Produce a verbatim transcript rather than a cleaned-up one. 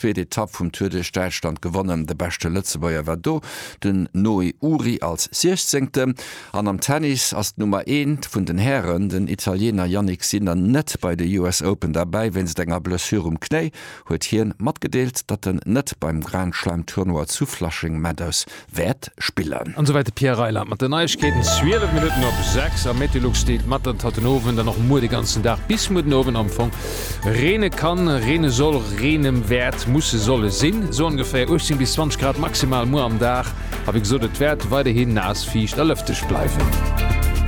Zweet Etapp vum Tour duerch Däitschland gewonnen. De beschte Lëtzebuerger war do den Noé Ury als Siechzéngten. An am Tennis ass d'Nummer eent vun den Hären, den Italiener Jannik Sinner, net bei de US Open derbäi. Wéinst enger Blessure um Knéi huet hien matgedeelt, datt en net beim Grand Slam Tournoi zu Flushing Meadows wäert spillen. An esouwäit de Pierre Reyland mat den Neiegkeeten. Zwielef Minutten op sechs a Meteolux deelt mat, datt haut den Owend an och muer de ganzen Dag bis muer den Owend am Fong reene kann, reene soll, reene wäert, musse, solle sinn. Esou ongeféier uechtzéng bis zwanzeg Grad maximal muer am Dag. A wéi gesot, et wäert weiderhin naass, fiicht a lëfteg bleiwen.